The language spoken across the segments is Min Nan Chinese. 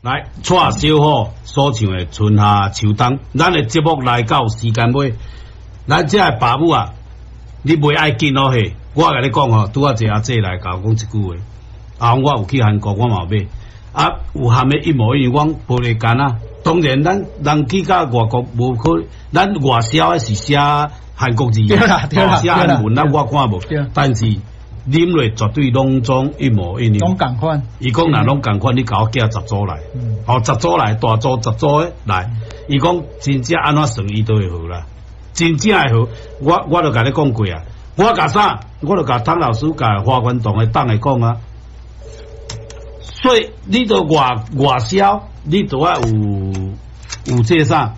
來，蔡小虎所唱的《春夏秋冬》，咱的節目來到時間尾，咱這个爸母啊，你袂愛緊哦嘿，我共你講吼，拄仔一個阿姐來共我講一句話，啊，我有去韓國，我嘛有買，啊，有含的一模一樣，講玻璃罐啊，當然咱人去到外國無可，咱外銷的是寫韓國字，對啦對啦寫韓文，咱我看無對，但是啉落絕對攏總一模一樣。攏仝款。伊講若攏仝款，你共我寄十組來，吼，十組來，大組十組的來。伊講真正按怎算，伊都會好啦，真正會好。我就共你講過啊，我共啥？我就共湯老師、共華冠堂的黨會講啊。所以你都外銷，你都愛有這啥？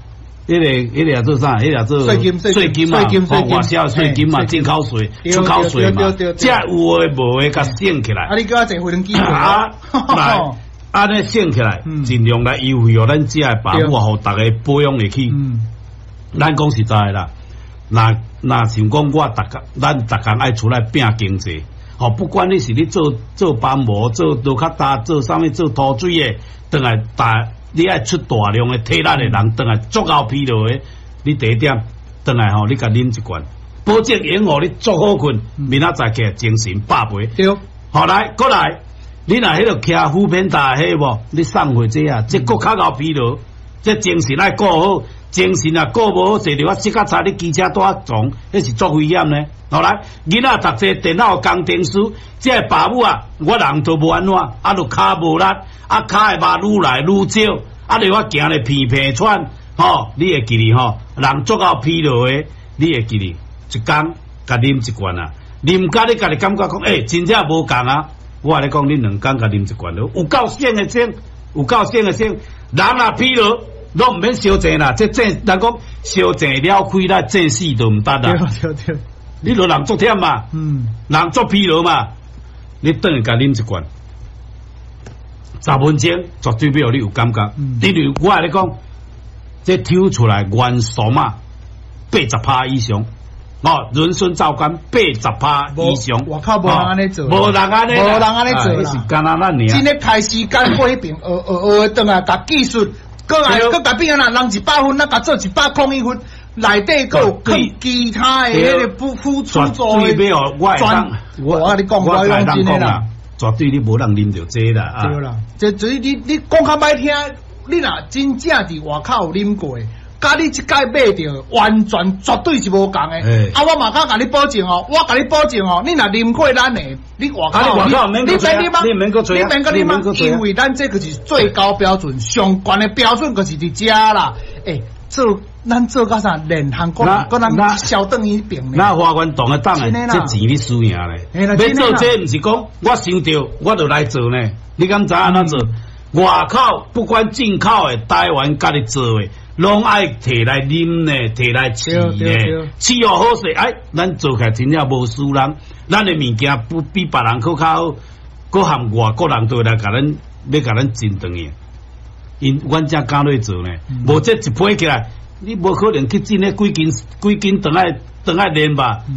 彼個叫做啥？彼個叫做稅金稅金嘛，稅金稅金外銷稅金嘛，進口稅、出口稅嘛，這有的無的，共省起來。啊，你叫我坐飛機啊，來，按呢省起來，盡量來優惠予咱遮的爸母，予逐家保養會起。咱講實在的啦，若像講我逐工，咱逐工愛出來拚經濟，吼，不管你是咧做做幫模、做刀較大、做啥物、做塗水的，轉來大，你愛出大量的體力的人，轉來足夠疲勞的，你第一點轉來吼，你共啉一罐，保證會予你足好睏，明仔載起來精神百倍。對，好來，閣來，你若彼個騎 foodpanda 彼無，你送貨這啊，這閣較𠢕疲勞，這精神愛顧好，精神若顧無好，坐著啊摔較差，你機車拄仔撞，彼是足危險呢。好來，囡仔讀這電腦工程師，這个爸母啊，我人都無按怎，啊，就跤無力，啊，跤會肉愈來愈少，啊，你我行咧鼻鼻喘，吼，你會記得吼，人足夠疲勞的，你會記得一工共啉一罐啊，啉甲你家己感覺講，欸，真正無仝啊！我共你講，你兩工共啉一罐有夠省的省，有夠省的省，人若疲勞，攏毋免相爭啦，這爭人講相爭了開啦，爭死都毋得啦。對對對，你著人足忝嘛，人足疲勞嘛，你轉去共啉一罐，10分鐘絕對欲予你有感覺。因為我共你講，這抽出來元素嘛，80%以上。哦，人參皂苷80%以上，外口無人按呢做，無人按呢，無人按呢做啦。是干焦咱爾。真的開時間過彼爿，學學學轉來，共技術，閣來閣共變啊！人100分，咱共做101分，內底閣有囥其他的彼个輔助的。絕對欲我我共你講，我講真的啦，絕對你無人啉著這啦。對啦，這所以你講較歹聽，你若真正佇外口有啉過，佮你這擺買著，完全絕對是無仝的。啊，我嘛敢共你保證哦，我共你保證哦，你若啉過咱的，你外口你免啉啊，你免閣你免閣啉啊，因為咱這個是最高標準，上懸的標準就是佇遮啦。欸，做咱做到啥？連韓國人，閣人銷轉彼爿呢？那華冠堂的黨的，這錢你輸贏咧。欲做這毋是講我想著我就來做呢？你敢知按怎做？外口不管進口的，台灣家己做的，攏愛提來啉呢，提來試呢，試予好勢，哎，咱做起來真正無輸人，咱的物件不比別人閣較好，閣含外國人都會來共咱，欲共咱爭轉去。𪜶阮才敢落做呢，無這一批起來，你無可能去進彼幾斤幾斤轉來轉來練吧？